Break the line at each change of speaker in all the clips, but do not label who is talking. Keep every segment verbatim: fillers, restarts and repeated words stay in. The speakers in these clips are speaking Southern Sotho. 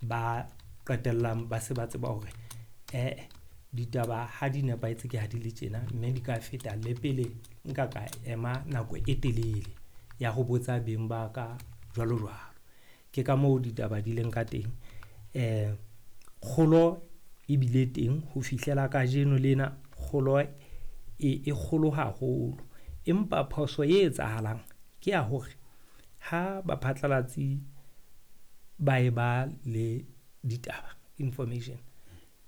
ba qetellang ba se ba tseba hore eh ditaba ha di nepahetse ke ha di le tjena, mme di ka feta le pele nka ka ema nako e telele ya ho botsa beng ba ka jwalo jwalo. Ke ka moo ditaba di leng ka teng. Eh kgolo e bile teng ho fihlela kajeno lena, kgolo e e kgolo haholo. Empa phoso e etsahalang ke ya hore ha baphatlalatsi ba e ba le ditaba, information,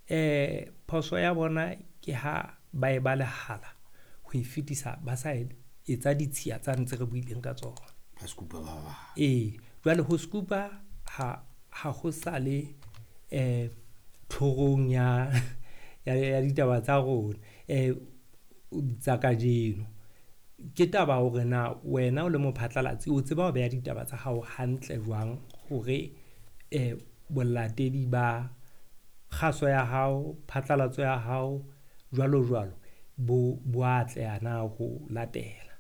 eh phoso ya bona ke ha ba e ba lehala ho e fetisa ba sa etsa ditshiya tsa ntse re buileng ka tsona.
Ba scoop-a ba bang.
Ee, jwale ho scoop-a ha ha ho sa le eh tlhorong ya ya ya ditaba tsa rona eh tsa kajeno. Ke taba hore na wena o le mophatlalatsi o tseba ho beha ditaba tsa hao hantle jwang hore eh bolatedi ba kgaso ya hao, phatlalatso ya hao jwalo jwalo bo bo atleha na ho latela.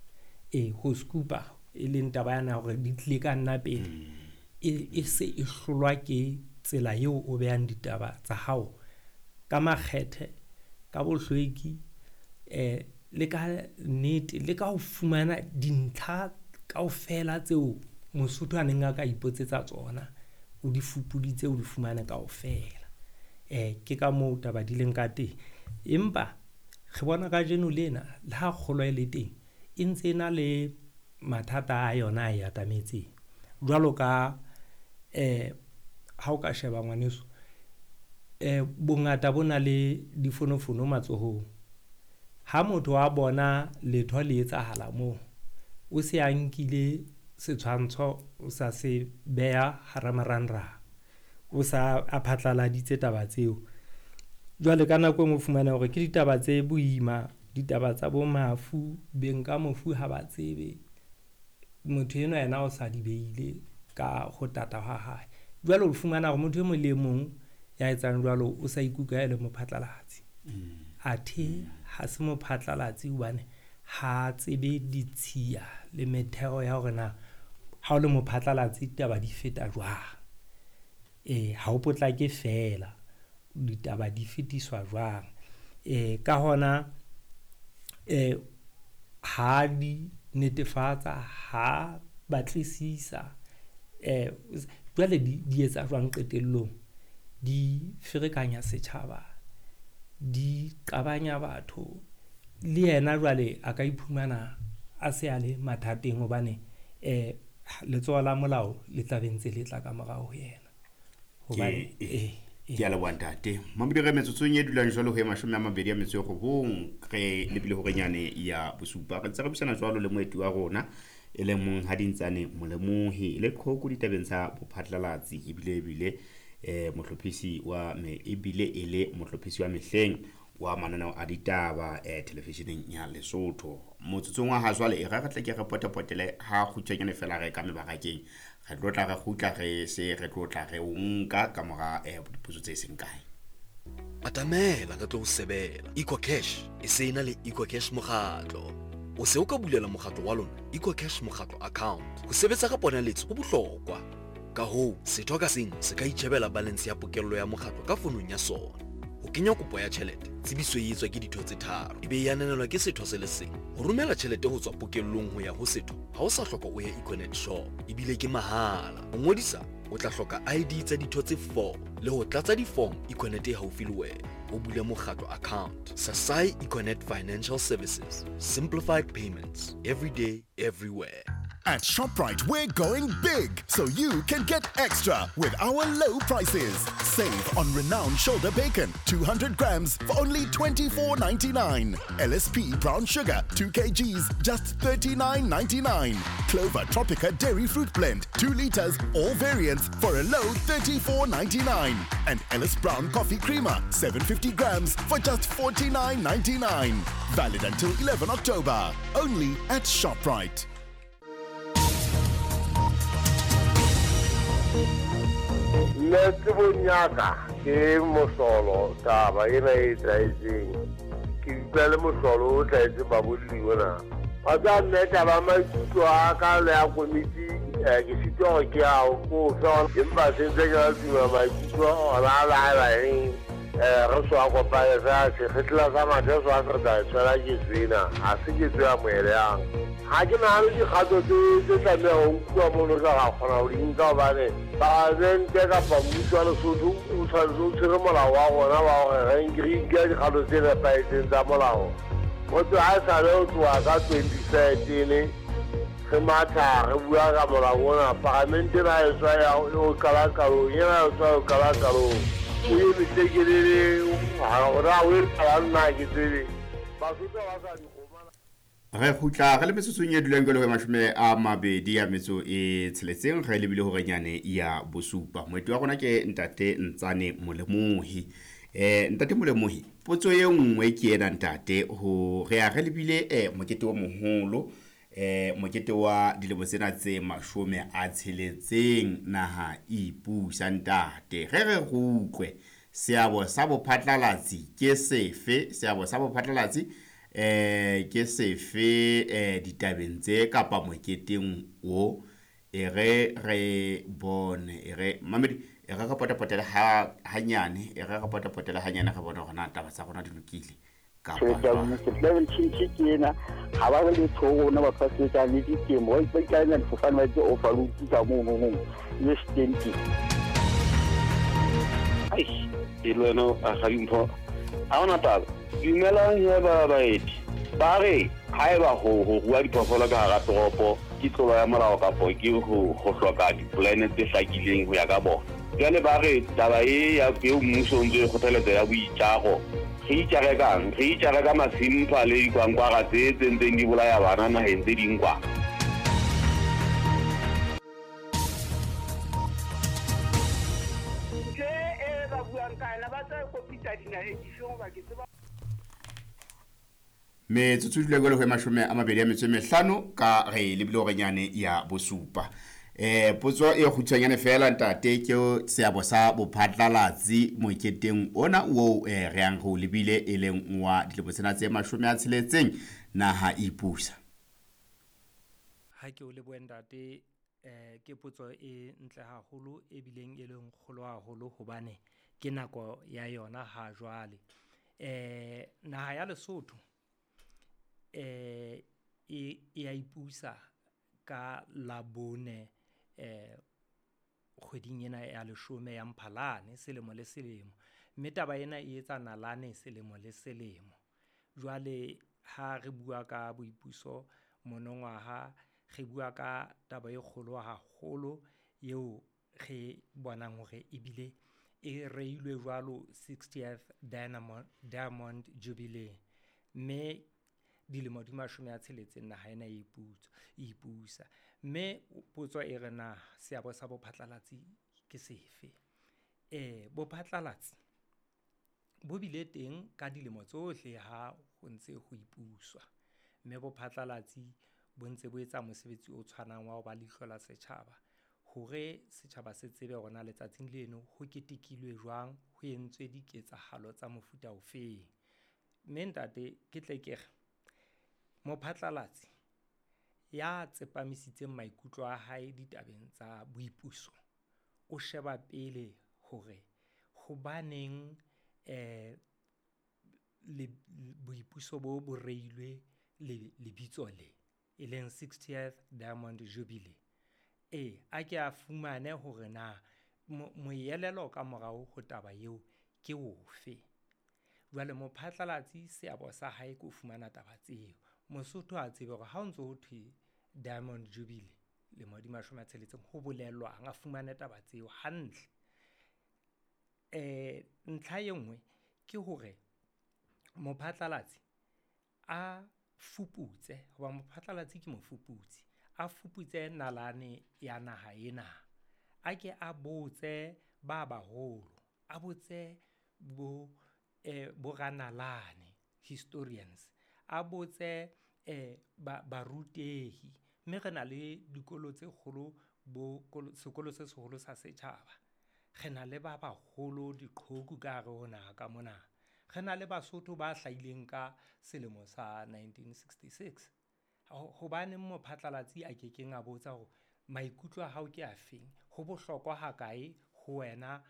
E ho scoop-a e leng taba yana hore di tlile ka nna pele, e e se e hlolwa ke tsela eo o behang ditaba tsa hao ka makgethe, ka bohlweki, eh le ka nnete, le ka ho fumana dintlha kaofela tseo Mosotho a neng a ka ipotsetsa tsona, o di fupuditse, o di fumane kaofela. Eh ke ka moo taba di leng ka teng. Empa re bona kajeno lena le ha kgolo e le teng, e ntse e na le mathata a yona a e atametseng. Jwalo ka eh ha o ka sheba ngwaneso, eh bongata bo na le difonofono matsohong. Ha motho a bona letho le etsahala moo, o se a nkile setshwantsho, o sa se beha hara marangrang, o sa a phatlaladitse taba tseo. Jwale ka nako e nngwe o fumana hore ke ditaba tse boima, ditaba tsa bo mafu, beng ka mofu ha ba tsebe. Motho enwa yena o sa di beile ka ho tata ha hae. Jwale o fumana hore motho e mong le e mong ya etsang jwalo o sa ikutlwa e le mophatlalatsi. Athe ha se mophatlalatsi hobane ha tsebe ditshiya le metheo ya hore na ha o le mophatlalatsi ditaba di feta jwang. Eh ha o potlake fela, ditaba di fetiswa jwang. Eh ka hona eh ha di netefatsa, ha batlisisa, eh jwale di di etsa jwang qetellong, di ferekanya setjhaba, di qabanya batho. Le yena jwale a ka iphumana a se a le mathateng hobane eh letsoho la molao le tla be ntse le tla ka morao ho yena. Hobane eh
Ke a leboha ntate. Mamodi re metsotsong e dulang jwalo ho e mashome a mabedi a metso e robong, re lebile hore nyane ya bosupa. Re ntse re buisana jwalo le moeti wa rona e leng Monghadi Ntsane Molemohi, e le qhoko ditabeng tsa bophatlalatsi, ebile ebile eh mohlophisi wa me ebile e le mohlophisi wa mehleng wa mananeo a ditaba eh televisioneng ya Lesotho. Motsotsong wa ha jwale e re re tle ke re potepotele ha kgutshwanyane fela re ka mebarakeng. Re tlo tla re kgutla re se re tlo tla re o nka ka mora eh dipotso tse seng kae.
Atamela re tlo o sebela. EcoCash e se ena le EcoCash mokgatlo. O se o ka bulela mokgatlo wa lona EcoCash mokgatlo account. Ho sebetsa ka ponaletso ho bohlokwa. Ka hoo, setho ka seng se ka itjhebela balance ya pokello ya mokgatlo ka fonong ya sona. Ho kenya kopo ya tjhelete, tsebiso e etswa ke ditho tse tharo, ebe e ananelwa ke setho se le seng. Ho romela tjhelete ho tswa pokellong ho ya ho setho, ha o sa hloka o ye Econet shop, ebile ke mahala. Ho ngodisa, o tla hloka I D tsa ditho tse four le ho tlatsa di-form Econet e haufi le wena. O bule mokgatlo account. Sasai Econet Financial Services. Simplified payments. Every day, everywhere.
At ShopRite, we're going big, so you can get extra with our low prices. Save on renowned shoulder bacon, two hundred grams for only twenty-four ninety-nine. L S P brown sugar, two kilograms, just thirty-nine ninety-nine. Clover Tropica Dairy Fruit Blend, two liters, all variants for a low thirty-four ninety-nine. And Ellis Brown Coffee Creamer, seven hundred fifty grams for just forty-nine ninety-nine. Valid until eleven October, only at ShopRite.
Nna tsebong ya ka ke mohlolo taba ena e etsahetseng. Ke utlwa le mohlolo o tlwaetseng babolli ona. Wa tseba nna taba ya maikutlo a ka le ya komiti Eh ke sitwa hore ke a ko fe empa se ntse ke la tuma maikutlo ona a laela eng eh re so a kopane fela sekgetla sa mathe so a se re tla e tshwela ketso ena ha se ketso ya moeleyang. Ha ke nahane dikgato tse tse tlamehang ho nkuwa mono tla ra kgona ho di nka hobane palamente kapa mmuso wa Lesotho o tshwanetse o tshwere molao wa rona wa hore re nke dikgato tse nepahetseng tsa molao. Motho ha e sale ho tloha ka twenty thirteen re matha re bua ka molao ona, palamente ena e tswa ya ho qala qalong, ena e tswa ho qala qalong. O emise kelele hore ha o etsahalang nna ha ke tsebe. Basotho ha ba sa dikgomana.
Re kgutla re le metsotsong e dulang jwalo ho mashome a mabedi a metso e tsheletseng re lebile hore nyane ya bosupa. Moeti wa rona ke ntate Ntsane Molemohi. Eh ntate Molemohi, potso e nngwe ke ena ntate, ho re a re lebile eh mokete o moholo eh mokete wa dilemo tsena tse mashome a tsheletseng naha ipusa ntate. Re re utlwe seabo sa bophatlalatsi ke sefe, seabo sa bophatlalatsi eh ke sefe eh ditabeng tse kapa moketeng o e re re bone e re mamedi e re re potapotela ha hanyane e re re potapotela hanyane re bone hore na taba tsa rona di lokile kapa jwang.
Level change ke ena ha ba le letho rona batho ba sebetsang le ditemo ba ikaela difofane ba tse overload ka mono no le stenti.
Ai e le wena a ga dimpho ha ona taba. Dumelang he ba baeti ba re haeba ho ho rua diphoofolo ka hara toropo ke tlolo ya molao kapo ke ho ho hloka dipolane tse hlakileng ho ya ka bona. Jwale ba re taba e ya eo mmuso o ntse e kgothaletsa ya boitjaro, re itjare kang? Re itjare ka masimpha le dikwankwara tse tse ntseng di bolaya bana naheng tse ding kwa.
Tje e ba buang ka yona ba tla kopitsa dinaheng dife hoba ke tseba.
Metsotso e dula jwalo ho mashome a mabedi a metso e mehlano ka re lebile hore nyane ya bosupa. Eh potso e kgutshwanyane fela ntate ke seabo sa bophatlalatsi moketeng ona o eh re yang ho lebile e leng wa dilemo tsena tse mashome a tsheletseng naha ipusa.
Ha ke o lebohe ntate, eh ke potso e ntle haholo e bileng e leng kgolo haholo hobane ke nako ya yona ha jwale. Eh naha ya Lesotho eh e e a ipusa ka Labone eh kgweding ena ya leshome ya Mphalane selemo le selemo, mme taba ena e etsa nalane selemo le selemo. Jwale ha re bua ka boipuso monongwaha re bua ka taba e kgolo haholo eo re bonang hore ebile e reilwe jwalo sixtieth Diamond, Diamond Jubilee, mme dilemo di mashome a tsheletseng naha ena e iputsa ipusa. Mme potso e re na seabo sa bophatlalatsi ke sefe? Eh bophatlalatsi bo bile teng ka dilemo tsohle ha ho ntse ho ipuswa, mme bophatlalatsi bo ntse bo etsa mosebetsi o tshwanang wa ho ba leihlo la setjhaba hore setjhaba se tsebe hore na letsatsing leno ho ketekilwe jwang, ho entswe diketsahalo tsa mofuta ofeng. Mme ntate ke tle ke re mophatlalatsi ya tsepamisitseng maikutlo a hae ditabeng tsa boipuso o sheba pele hore hobaneng eh le boipuso bo bo reilwe le lebitso le e leng sixtieth Diamond Jubilee. E a ke a fumane hore na moelelo ka morao ho taba eo ke ofe. Jwale mophatlalatsi seabo sa hae ke ho fumana taba tseo. Mosotho a tsebe hore ha o ntso ho thwe Diamond Jubilee lemo di mashome a tsheletseng ho bolelwang, a fumane taba tseo hantle. Eh ntlha e nngwe ke hore mophatlalatsi a fuputse, hoba mophatlalatsi ke mofuputsi, a fuputse nalane ya naha ena, a ke a botse ba baholo, a botse bo eh boranalane historians, a botse eh ba barutehi, mme re na le dikolo tse kgolo bo sekolo se seholo sa setjhaba, re na le ba baholo diqhoku ka hare ho naha ka mona, re na le Basotho ba hlahileng ka selemo sa nineteen sixty-six. Hobaneng mophatlalatsi a kekeng a botsa hore Maikutlo a hao ke afeng? Ho bohlokwa hakae ho wena